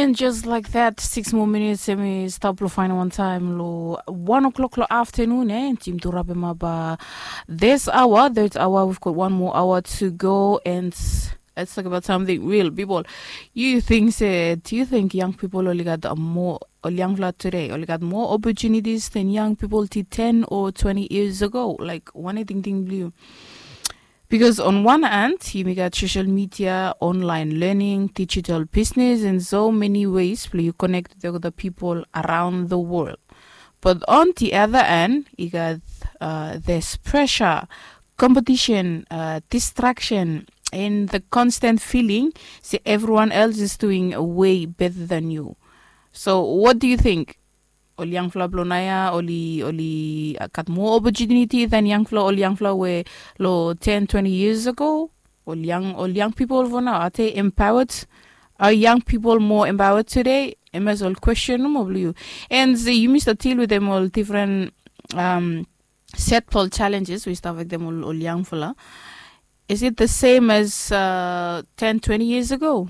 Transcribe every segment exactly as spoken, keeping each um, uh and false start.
And just like that, six more minutes, and we stop lo final one time lo one o'clock lo afternoon, eh? And team to wrap him up uh, this hour, third hour, we've got one more hour to go, and let's talk about something real, people. You think said, do you think young people only got a more, or young flat today, only got more opportunities than young people to ten or twenty years ago? Like, what do you think, blue? Because on one hand, you may got social media, online learning, digital business, and so many ways where you connect with the people around the world. But on the other hand, you got uh, this pressure, competition, uh, distraction, and the constant feeling say everyone else is doing way better than you. So, what do you think? Ol yangfala blong naoia oli oli gat moa opportunity than yangfala ol yangfala we lo ten twenty years ago. Ol yang ol yang people fo nao, are they empowered? Are young people more empowered today? Em as ol question nomo blong yu. And yumi stap deal wetem ol different um, set fo ol challenges we stap wetem ol, ol yangfala. Is it the same as uh, ten twenty years ago?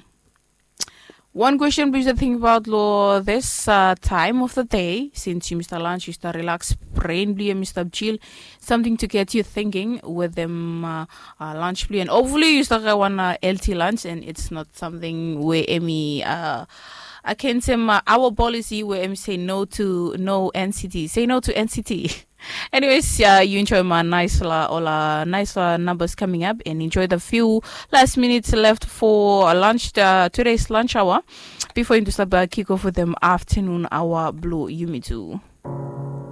One question we should think about lo this uh, time of the day, since you Mister Lunch, you start relax, brain blue, Mister Chill, something to get you thinking with them uh, uh, lunch blue, and hopefully you start one uh, L T lunch, and it's not something where any uh, I can say my, our policy where M say no to no N C T, say no to N C T. Anyways, yeah, you enjoy my nice la, all uh, nice uh, numbers coming up, and enjoy the few last minutes left for lunch uh, today's lunch hour before you start uh, kick off with them afternoon hour blue yumi too.